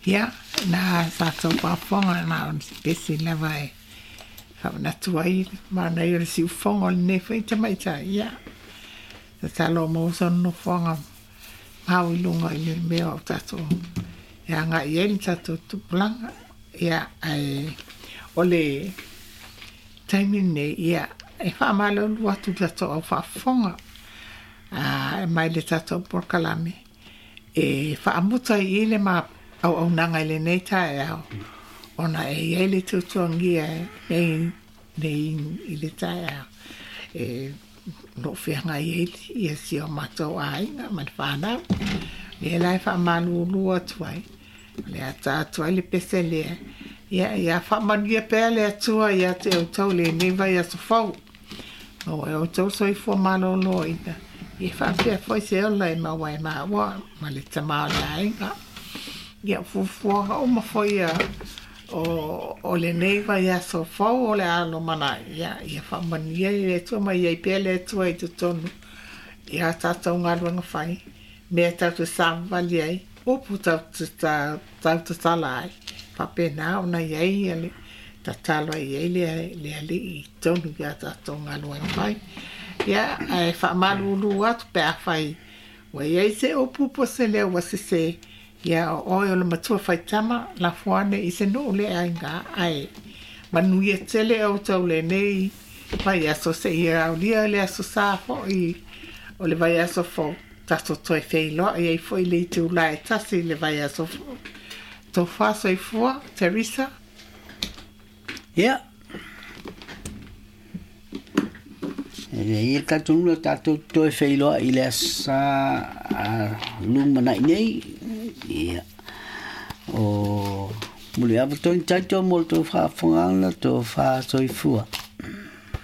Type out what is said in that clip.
Ia, na tatou faafofoga na o se pese lava e faamanatu ai le manaia o le siufofoga o lenei foi tamaitai. Ia, tatalo maua sona nofoaga mau i luga i le mea o tatou e agai i ai le tatou tupulaga. Ia, ae o le taimi lenei, ia, e faamalulu atu i le tatou au faafofoga mai le tatou polokalame e faamuta i i le ma auaunaga i lenei taeao ona e i ai le tuatuagia nei nei i le taeao e o lo o feagai ai ia si o matou aiga ma le fanau. Lea la e faamalulu atu ai, o le a ta atu ai le pese lea, ia, ia faamanuia pea le Atua ia te outou i lenei vaiaso fou. Maua e outou soifua maloloina, ia faapea foi se ola e maua e maua ma le tama o le aiga. Ia, o fuafuaga uma foi ia o, o lenei vaiaso fou o le a lumanai, ia, ia faamanuia i le Atua ma i ai pea le Atua i totonu i a tatou galuega fai, mea tatou te savavali ai, upu tatou te tautatala ai, faapena ona i ai le tatalo ai i ai le, le Alii i totonu i a tatou galuega fai. Ia, ae faamalulu atu pe afai ua i ai se upu po o se leo ua sese, ia o oe o le matua faitama, lafo ane i se nuu le aiga, ae manuia tele outou lenei vaiaso seia aulia le Aso Sa foi o le vaiaso fou, tatou toe feiloai ai foi i le itula e 1 i le vaiaso fou. Tofa soifua, Teresa. Ia. E le ia tatou nuu tatou toe feiloai i le Aso Sa lumanai nei. Ia. O muliava tonu taito mo le tou faafofogaaga, tofa soifua.